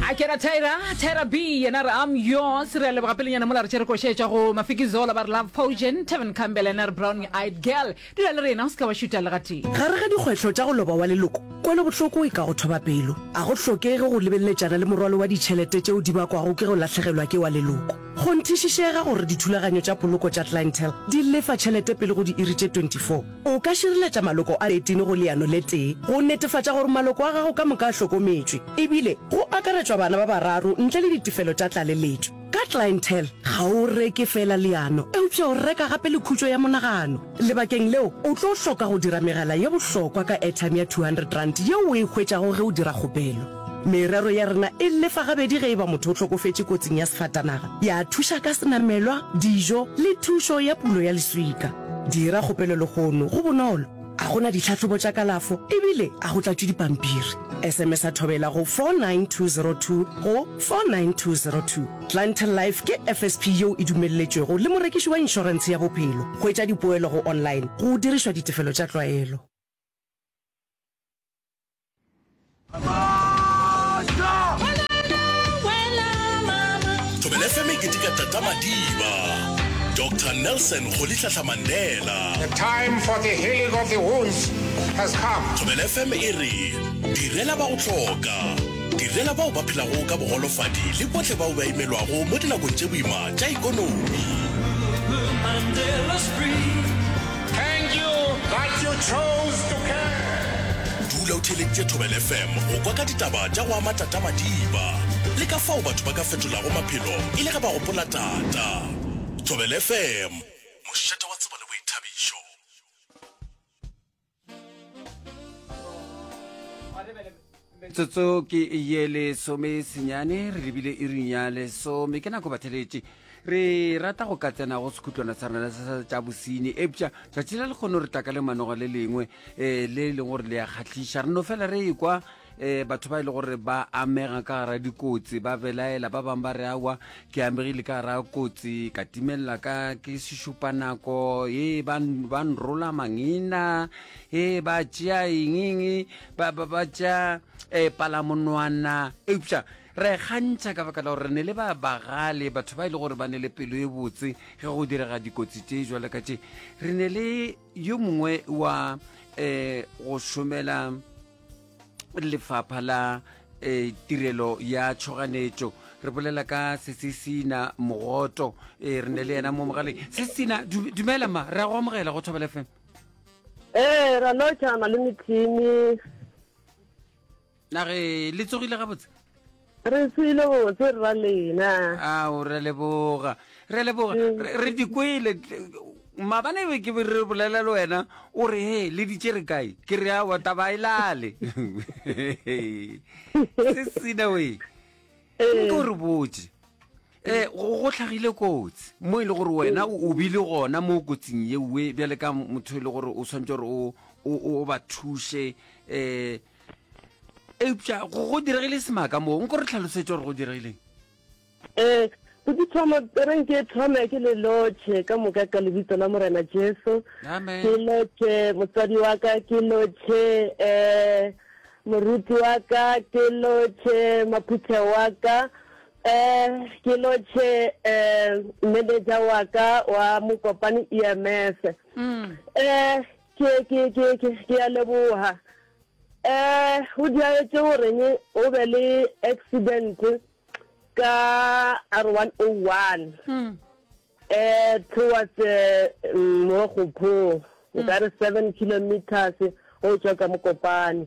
A ke ra Tyra, Tyra B, yena re I'm yours. Re a leboga pelenyana mola re tšere koša e tšwa go Mafiki Zola ba re Love Potion, Tevin Campbell yena re Brown Eyed Girl. Dula le rena, o se ka wa šuta le gatee. Gare ga dikgwetlho tša go loba wa leloko, kwelobohloko e ka go thoba pelo. A go hlokege go lebeleletšana le morwalo wa ditšhelete tšeo di bakwago ke go lahlegelwa ke wa leloko. Kgonthišišega gore dithulaganyo tša poloko tša Clientele di lefa tšhelete pele go diiri tše 24. O ka šireletša maloko a 13 go leano le tee go netefatša gore maloko a gago ka moka a hlokometšwe, ebile go akaretšwa bana ba bararo ntle le ditefelo tša tlaleletšo. Ka Clientele, ga o reke feela leano, eupša o reka gape le khutšo ya monagano. Lebakeng leo, o tlo hloka go dira megala ye bohlokwa ka airtime ya R200 yeo o e hwetšago ge o dira kgopelo. Merero ya rena e lefa gabedi ge e ba motho o hlokofetše kotsing ya sefatanaga, ya thuša ka senamelwa, dijo le thušo ya pulo ya leswika. Dira kgopelo lehono, go bonolo, ga go na ditlhahlobo tša kalafo ebile ga go tlatšwe dipampiri. SMS-a Thobela go 49202 go 49202. Clientele Life ke FSP yeo e dumelletšwego le morekiši wa inšorentshe ya bophelo. Hwetša dipoelo go online go dirišwa ditefelo tša tlwaelo. Thobela FM e keteka Tata Madiba, Doctor Nelson Rolihlahla Mandela. The time for the healing of the wounds has come. Thobela FM e re direla ba go hloka, direla bao ba phelago ka bogolofadi le bohle bao ba imelwago mo dinakong tše boima tša ikonomi. Thank you that you chose to care. Dula o theeleditše Thobela FM go kwa ka ditaba tša go ama Tata Madiba le ka fao batho ba ka fetolago maphelo e le ge ba gopola Tata. Thobela FM, mošate wa tsebo le boithabišo. Metsotso ke ye lesome senyane re lebile iring ya lesome ke nako batheletše re rata go ka tsena go sekhutlwana sa rena sa tša bosenyi eupša tšatši la lekgono re tla ka lemanoga le lengwe um le e leng gore le ya kgahliša re no fela re ekwa um batho ba e le gore ba amega ka gara dikotsi ba belaela ba bangwe ba re awa ke amegile ka gara kotsi ka timelela ka ke sešupanako e ba nrola mangina e ba tšea engeng ba ba ba tša eh, palamonwana eupša re kgantšha ka baka la gore re ne le ba bagale batho ba e le gore ba ne le pelo e botse ge go direga dikotsi tše jwale ka tše re ne le yo mongwe wa um go šomela lefapha la um tirelo ya tšhoganetšo re bolela ka sesesina mogoto um re ne le yena mo mogaleng sesesina dumela ma re a go amogela go thobela fm Ee, ra lotšha malome Timmy. Na ge le tsogile gabotse? Re tsogile botse rra lena. Ao, re leboga. Re leboga. Mm. Re di kwele. Maabane be ke re bolela le wena o re he le di tšere kae? Ke re aowa taba e lale. Se sina we. Nke o re botše. Eh, go go hlagile kotsi mo e le gore wena o bile gona mo kotsing yeowe bjale ka motho e le gore o swanetše gore o o ba thuše um eupša go go diregile semaka moo nko re tlhalosetše gore go diregileng um Botithomo re nke thome ke le lotšhe ka moka ka lebitso la Morena Jesu. Ke lotšhe motswadi wa ka, ke lotšhe um moruti wa ka, ke lotšhe maphuthego wa ka, Eh, ke lotšhe eh, manager wa ka wa Mokopane EMS. Mm. Eh, ke ke ke ke ke a leboha. Eh, go diaetse goreng o be le accident ka R101. Mm. Eh, towards eh, Mogopo, nkare 7 kilometers go tšwa ka Mokopane.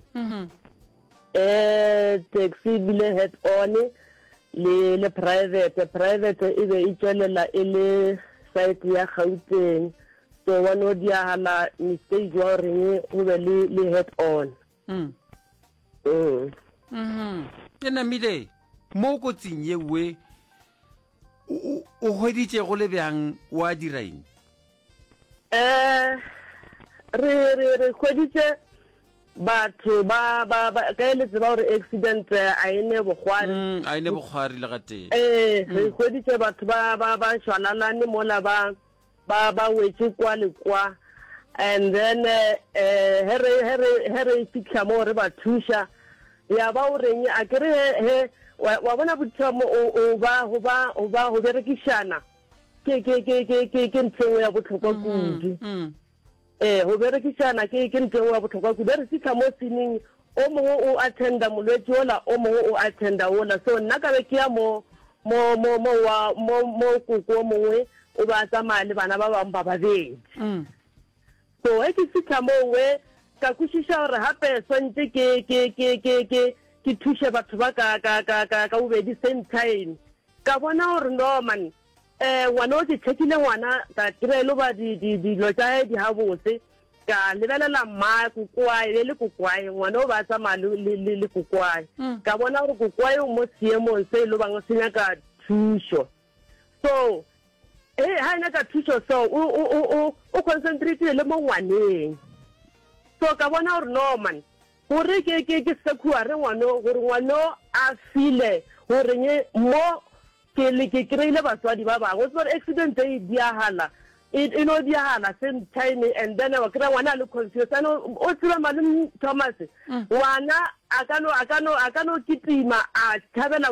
Eh, taxi e bile head on le le private, private e be e tšwelela e le side ya Gauteng, so wa no diagala mistake wa goreng go be le le head on. Mm. Mm. Mm. E namile mo kotsing yewe o hweditše go le bjang wa dira eng? Eh re re re hweditše batho ba ba ba ka le tseba gore accident a e ne bokgwari. Mm, a e ne bokgwari le gatee. Eh re mm. hweditše batho ba ba ba šwalalane mola ba ba ba wetše kwa le kwa and then eh he re he re he re fitlha mo re ba thuša ya ba o reng a ke re he he. Wa, wa bona bothomo o, o ba, go ba, go ba, go berekišana ke, ke, ke, ke, ke, ke ntho e nngwe ya bohlokwa kudu. Ee, go berekišana ke, ke ntho e nngwe ya bohlokwa kudu. Ge re fihla mo sining, o mongwe o attenda molwetši wola, o mongwe o attenda wola. So nna ka be ke ya mo, mo, mo, mo wa, mo, mo koko o mongwe o be a tsamaya le bana ba bangwe ba babedi. So ge ke fihla moo we, ka kwešiša gore gape swantše ke, ke, ke, ke, ke, ke thuše batho ba ka, ka, ka, ka, ka bobedi same time. Ka bona gore no man, eh, ngwana o ke checkile ngwana, ka kry-a e lo ba di, di, dilo tša hae di gabotse. Ka lebelela mma, kokoae, e be e le kokoae, ngwana o be a tsamaya le, le, le, le kokoae. Ka bona gore kokoae o mo seemong se e lo bang se nyaka thušo. So, he, ha e nyaka thušo so, o, o, o, o, o concentrate-ile le mo ngwaneng. So ka bona gore no man, gore ke, ke, ke secure ngwano, gore ngwano a feel-e goreng mo ke le, ke kry-ile batswadi ba bangwe. O tseba gore accident e diagala, e, e no diagala same time and then wa kry-a ngwana a le confused. And o, o tseba malome Thomas, ngwana a ka no, a ka no, a ka no kitima a tšhabela.